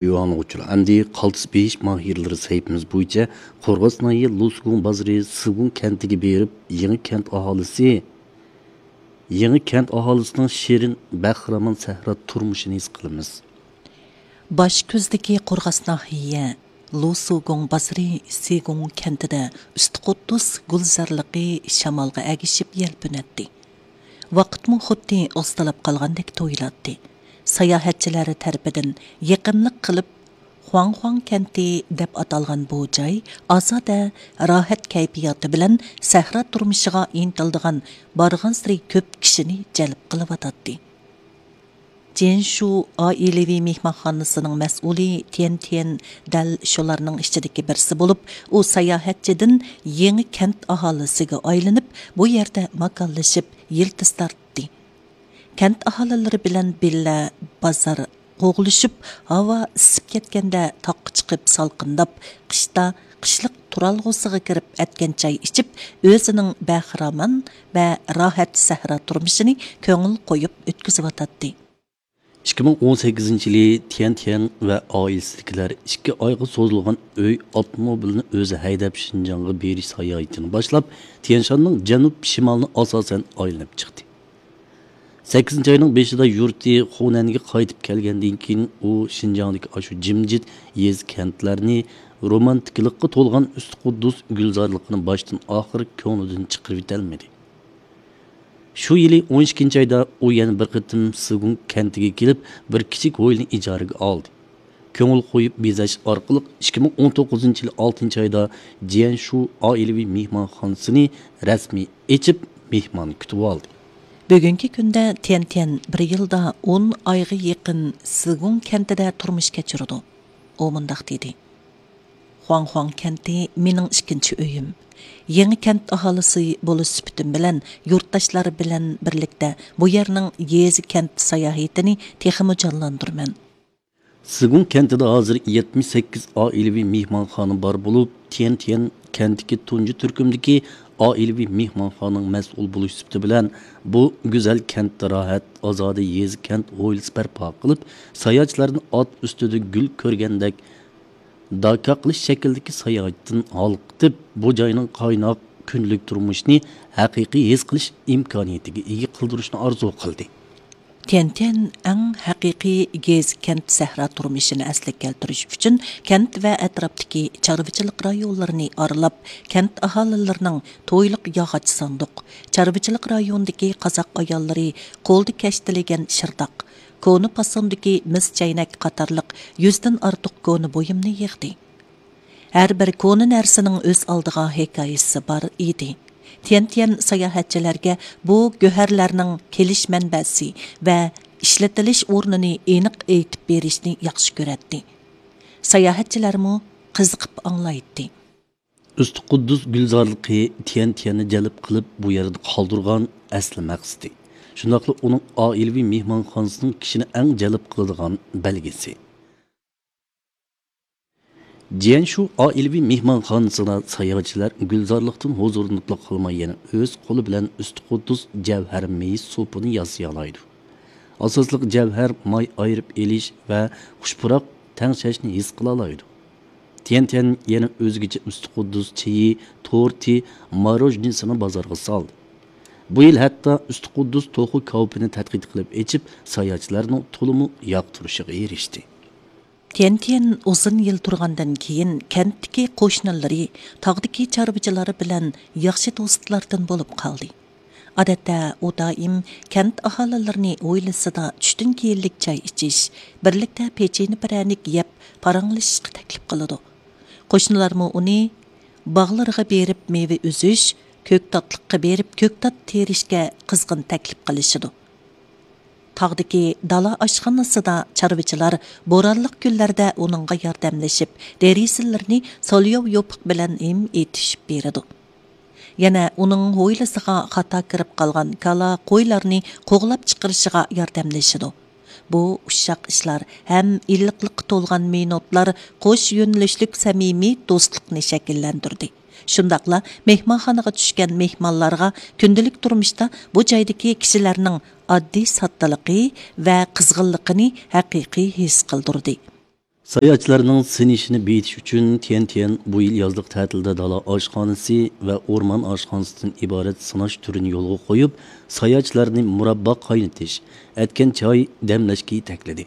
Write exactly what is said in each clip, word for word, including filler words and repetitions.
ئۇيغۇرلار ئۈچۈن ئەمدى قالتىس بېيىش ماھىرلىرى سەھىپىمىز بويىچە قورغاس ناھىيە لۇسۇگۇڭ بازىرى سىگۇڭ كەنتىگە بېرىپ، يېڭى كەنت ئاھالىسى، يېڭى كەنت ئاھالىسىنىڭ شېرىن، بەخىرامان سەھرا تۇرمۇشىنى ھېس قىلىمىز. باش كۆزدىكى قورغاس ناھىيە لۇسۇگۇڭ بازىرى سىگۇڭ كەنتىدە ئۈستى قۇددۇس گۈلزارلىقى شامالغا ئەگىشىپ يەلپۈنەتتى. ۋاقىتمۇ خۇددى ئاستىلاپ قالغاندەك تۇيۇلاتتى. ساياھەتچىلەر تەرىپىدىن يېقىملىق قىلىپ خۇاڭخۇاڭ كەنتى دەپ ئاتالغان بۇ جاي ئازادە، راھەت كەيپىياتى بىلەن سەھرا تۇرمۇشىغا ئىنتىلىدىغان بارغانسېرى كۆپ كىشىنى جەلپ قىلىۋاتاتتى. جيەنشۇ ئائىلىۋى مېھمانخانىسىنىڭ مەسئۇلى تيەن تيەن دەل شۇلارنىڭ ئىچىدىكى بىرسى بولۇپ، ئۇ ساياھەتچىدىن يېڭى كەنت ئاھالىسىگە ئايلىنىپ، بۇ يەردە ماكانلىشىپ يىلتىز تارتتى. كەنت ئاھالىلىرى بىلەن بىللە بازار قوغلىشىپ، ھاۋا ئىسسىپ كەتكەندە تاغقا چىقىپ سالقىنداپ، قىشتا قىشلىق تۇرالغۇسىغا كىرىپ ئەتكەن چاي ئىچىپ، ئۆزىنىڭ بەخىرامان ۋە راھەت سەھرا تۇرمۇشىنى كۆڭۈل قويۇپ ئۆتكۈزۈۋاتاتتى. ئىككى مىڭ ئون سەككىزىنچى يىلى تيەن تيەن ۋە ئائىلىسىدىكىلەر ئىككى ئايغا سوزۇلغان ئۆي ئاپتوموبىلىنى ئۆزى ھەيدەپ شىنجاڭغا بېرىش ساياھىتىنى باشلاپ، تيەنشاننىڭ جەنۇب شىمالىنى ئاساسەن ئايلىنىپ چىقتى. سەككىزىنچى ئاينىڭ بېشىدا يۇرتى خۇنەنگە قايتىپ كەلگەندىن كېيىن، ئۇ شىنجاڭدىكى ئاشۇ جىمجىت يېزا كەنتلەرنى، رومانتىكىلىققا تولغان ئۈستى قۇددۇس گۈلزارلىقىنى باشتىن ئاخىر كۆڭلىدىن چىقىرىۋېتەلمىدى. شۇ يىلى ئون ئىككىنچى ئايدا ئۇ يەنە بىر قېتىم سىگۇڭ كەنتىگە كېلىپ، بىر كىچىك ھويلىنى ئىجارىگە ئالدى. كۆڭۈل قويۇپ بېزەش ئارقىلىق ئىككى مىڭ ئون توققۇزىنچى يىل ئالتىنچى ئايدا جيەنشۇ ئائىلىۋى مېھمانخانىسىنى رەسمىي ئېچىپ، مېھمان كۈتۈۋالدى. بۈگۈنكى كۈندە تيەن تيەن بىر يىلدا ئون ئايغا يېقىن سىگۇڭ كەنتىدە تۇرمۇش كەچۈرىدۇ. ئۇ مۇنداق دېدى: خۇاڭخۇاڭ كەنتى مېنىڭ ئىككىنچى ئۆيۈم. يېڭى كەنت ئاھالىسى بولۇش سۈپىتىم بىلەن يۇرتداشلار بىلەن بىرلىكتە بۇ يەرنىڭ يېزا كەنت ساياھىتىنى تېخىمۇ جانلاندۇرىمەن. سىگۇڭ كەنتىدە ھازىر يەتمىش سەككىز ئائىلىۋى مېھمانخانا بار بولۇپ، تيەن تيەن كەنتىكى تۇنجى تۈركۈمدىكى ئائىلىۋى مېھمانخانىنىڭ مەسئۇل بولۇش سۈپىتى بىلەن، بۇ گۈزەل كەنتتە راھەت، ئازادە يېزا كەنت ھويلىسى بەرپا قىلىپ، ساياھەتچىلەرنى ئات ئۈستىدە گۈل كۆرگەندەك داكا قىلىش شەكلىدىكى ساياھەتتىن ھالقىتىپ، بۇ جاينىڭ قايناق كۈندىلىك تۇرمۇشىنى ھەقىقىي ھېس قىلىش ئىمكانىيىتىگە ئىگە قىلدۇرۇشنى ئارزۇ قىلدى. تيەنتيەن ئەڭ ھەقىقىي گېزى كەنت سەھرا تۇرمۇشىنى ئەسلىگە كەلتۈرۈش ئۈچۈن، كەنت ۋە ئەتراپتىكى چارۋىچىلىق رايونلىرىنى ئارىلاپ، كەنت ئاھالىلىرىنىڭ تويلۇق ياغاچ ساندۇق، چارۋىچىلىق رايونىدىكى قازاق ئاياللىرى قولدا كەشتىلىگەن شىرداق، كونا پاسوندىكى مىس چەينەك قاتارلىق يۈزدىن ئارتۇق كونا بۇيۇمنى يىغدى. ھەر بىر كونا نەرسىنىڭ ئۆز ئالدىغا ھېكايىسى بار ئىدى. تيەنتيەن ساياھەتچىلەرگە بۇ گۆھەرلەرنىڭ كېلىش مەنبەسى ۋە ئىشلىتىلىش ئورنىنى ئېنىق ئېيتىپ بېرىشنى ياخشى كۆرەتتى. ساياھەتچىلەرمۇ قىزىقىپ ئاڭلايتتى. ئۈستى قۇددۇس گۈلزارلىقى تيەنتيەننى جەلپ قىلىپ، بۇ يەردە قالدۇرغان ئەسلى مەقسىتى، شۇنداقلا ئۇنىڭ ئائىلىۋى مېھمانخانىسىنىڭ كىشىنى ئەڭ جەلپ قىلىدىغان بەلگىسى. جيەنشۇ ئائىلىۋى مېھمانخانىسىدا ساياھەتچىلەر گۈلزارلىقتىن ھۇزۇرلىنىپلا قالماي، يەنە ئۆز قولى بىلەن ئۈستى قۇددۇس جەۋھەر مېيى سوپىنى ياسىيالايدۇ. ئاساسلىق جەۋھەر ماي ئايرىپ ئېلىش ۋە خۇش پۇراق تەڭشەشنى ھېس قىلالايدۇ. تيەنتيەن يەنە ئۆزگىچە ئۈستى قۇددۇس چېيى، تورتى، ماروژنىسىنى بازارغا سالدى. بۇ يىل ھەتتا ئۈستى قۇددۇس توخۇ كاۋىپىنى تەتقىق قىلىپ ئېچىپ، ساياھەتچىلەرنىڭ تولىمۇ ياقتۇرۇشىغا ئېرىشتى. تيەنتيەن ئۇزۇن يىل تۇرغاندىن كېيىن، كەنتتىكى قوشنىلىرى، تاغدىكى چارۋىچىلار بىلەن ياخشى دوستلاردىن بولۇپ قالدى. ئادەتتە ئۇ دائىم كەنت ئاھالىلىرىنى ھويلىسىدا چۈشتىن كېيىنلىك چاي ئىچىش، بىرلىكتە پېچىنە پىرەنىك يەپ پاراڭلىشىشقا تەكلىپ قىلىدۇ. قوشنىلارمۇ ئۇنى باغلىرىغا بېرىپ مېۋە ئۈزۈش، كۆكتاتلىققا بېرىپ كۆكتات تېرىشكە قىزغىن تەكلىپ قىلىشىدۇ. تاغدىكى دالا ئاشخانىسىدا چارۋىچىلار بورانلىق كۈنلەردە ئۇنىڭغا ياردەملىشىپ، دېرىزىلىرىنى سولياۋ يوپۇق بىلەن ھىم ئېتىشىپ بېرىدۇ. يەنە ئۇنىڭ ھويلىسىغا خاتا كىرىپ قالغان كالا، قويلارنى قوغلاپ چىقىرىشىغا ياردەملىشىدۇ. بۇ ئۇششاق ئىشلار ھەم ئىللىقلىققا تولغان مىنۇتلار قوش يۆنىلىشلىك سەمىمىي دوستلۇقنى شەكىللەندۈردى. شۇنداقلا مېھمانخانىغا چۈشكەن مېھمانلارغا كۈندىلىك تۇرمۇشتا بۇ جايدىكى كىشىلەرنىڭ ئاددىي ساددىلىقى ۋە قىزغىنلىقىنى ھەقىقىي ھېس قىلدۇردى. ساياھەتچىلەرنىڭ سىنىشىنى بېيىتىش ئۈچۈن، تيەنتيەن بۇ يىل يازلىق تەتىلدە دالا ئاشخانىسى ۋە ئورمان ئاشخانىسىدىن ئىبارەت سىناش تۈرىنى يولغا قويۇپ، ساياھەتچىلەرنى مۇراببا قاينىتىش، ئەتكەن چاي دەملەشكە يېتەكلىدى.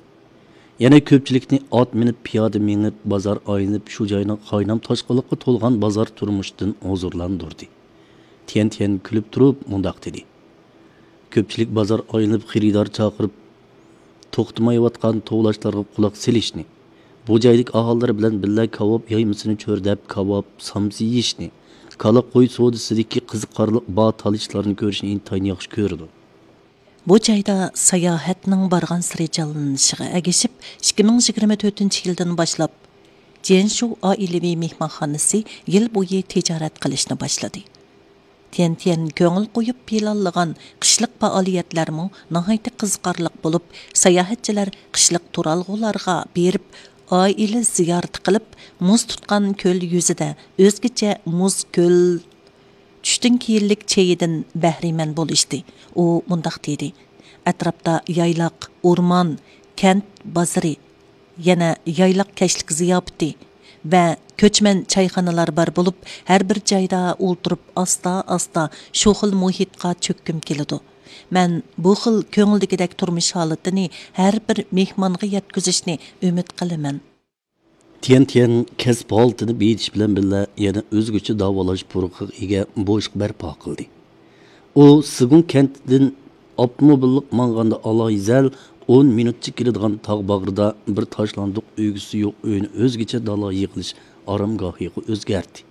يەنە كۆپچىلىكنى ئات مىنىپ، پىيادە مېڭىپ، بازار ئايلىنىپ، شۇ جاينىڭ قاينام-تاشقىنلىققا تولغان بازار تۇرمۇشىدىن ھۇزۇرلاندۇردى. تيەنتيەن كۈلۈپ تۇرۇپ مۇنداق دېدى: كۆپچىلىك بازار ئايلىنىپ، خېرىدار چاقىرىپ، توختىمايۋاتقان توۋلاشلارغا قۇلاق سېلىشنى، بۇ جايدىكى ئاھالىلەر بىلەن بىللە كاۋاپ يايمىسىنى چۆرىدەپ، كاۋاپ، سامسا يېيىشنى، كالا، قوي سودىسىدىكى قىزىقارلىق بار تالىشلارنى كۆرۈشنى ئىنتايىن ياخشى كۆرىدۇ. بۇ جايدا ساياھەتنىڭ بارغانسېرى جانلىنىشىغا ئەگىشىپ، ئىككى مىڭ يىگىرمە تۆتىنچى يىلدىن باشلاپ، جيەنشۇ ئائىلىۋى مېھمانخانىسى يىل بويى تىجارەت قىلىشنى باشلىدى. تيەنتيەن كۆڭۈل قويۇپ پىلانلىغان قىشلىق پائالىيەتلەرمۇ ناھايىتى قىزىقارلىق بولۇپ، ساياھەتچىلەر قىشلىق تۇرالغۇلارغا بېرىپ، ئائىلە زىيارىتى قىلىپ، مۇز تۇتقان كۆل يۈزىدە ئۆزگىچە مۇز كۆل چۈشتىن كېيىنلىك چېيىدىن بەھرىمەن بولۇشتى. ئۇ مۇنداق دېدى: ئەتراپتا يايلاق، ئورمان، كەنت بازىرى، يەنە يايلاق كەچلىك زىياپىتى ۋە كۆچمەن چايخانىلار بار بولۇپ، ھەر بىر جايدا ئولتۇرۇپ ئاستا-ئاستا شۇ خىل مۇھىتقا چۆككۈم كېلىدۇ. مەن بۇ خىل كۆڭۈلدىكىدەك تۇرمۇش ھالىتىنى ھەر بىر مېھمانغا يەتكۈزۈشنى ئۈمىد قىلىمەن. تيەنتيەن كەسىپ ھالىتىنى بېيىتىش بىلەن بىللە، يەنە ئۆزگىچە داۋالاش پۇرىقىغا ئىگە بوشلۇق بەرپا قىلدى. ئۇ سىگۇڭ كەنتىدىن ئاپتوموبىللىق ماڭغاندا ئالاھىدە ئون مىنۇتچە كېلىدىغان تاغ باغرىدا بىر تاشلاندۇق ئۆگزىسى يوق ئۆينى ئۆزگىچە دالا يىغىلىش ئارامگاھىغا ئۆزگەرتتى.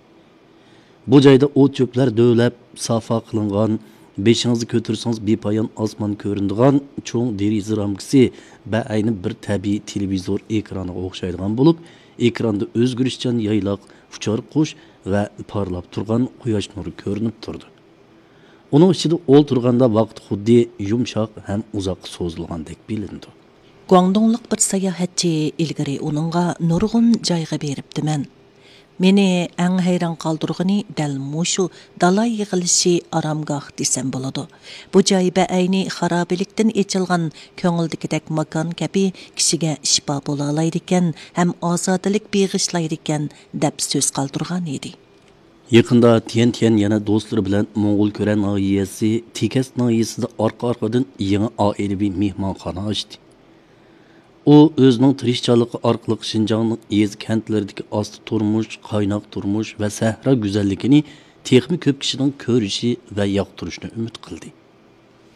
بۇ جايدا ئوت-چۆپلەر دۆۋىلەپ، سافا قىلىنغان، بېشىڭىزنى كۆتۈرسىڭىز بىپايان ئاسمان كۆرۈنىدىغان چوڭ دېرىزە رامكىسى بەئەينى بىر تەبىئىي تېلېۋىزور ئېكرانىغا ئوخشايدىغان بولۇپ، ئېكراندا ئۆزگىرىشچان يايلاق، ئۇچار قۇش ۋە پارلاپ تۇرغان قۇياش نۇرى كۆرۈنۈپ تۇرىدۇ. ئۇنىڭ ئىچىدە ئولتۇرغاندا ۋاقىت خۇددى يۇمشاق ھەم ئۇزاققا سوزۇلغاندەك بىلىنىدۇ. گۇاڭدۇڭلۇق بىر ساياھەتچى ئىلگىرى ئۇنىڭغا نۇرغۇن جايغا بېرىپتىمەن. مېنى ئەڭ ھەيران قالدۇرغىنى دەل مۇشۇ دالا يىغىلىشى ئارامگاھ دېسەم بولىدۇ. بۇ جاي بەئەينى خارابىلىكتىن ئېچىلغان كۆڭۈلدىكىدەك ماكان كەبى كىشىگە شىپا بولالايدىكەن ھەم ئازادىلىك بېغىشلايدىكەن، دەپ سۆز قالدۇرغان ئىدى. يېقىندا تيەنتيەن يەنە دوستلىرى بىلەن موڭغۇلكۈرە ناھىيەسى تېكەس ناھىيەسىدە ئارقا-ئارقىدىن يېڭى ئائىلىۋى مېھمانخانا ئاچتى. ئۇ ئۆزىنىڭ تىرىشچانلىقى ئارقىلىق شىنجاڭنىڭ يېزا-كەنتلىرىدىكى ئاستا تۇرمۇش، قايناق تۇرمۇش ۋە سەھرا گۈزەللىكىنى تېخىمۇ كۆپ كىشىنىڭ كۆرۈشى ۋە ياقتۇرۇشىنى ئۈمىد قىلدى.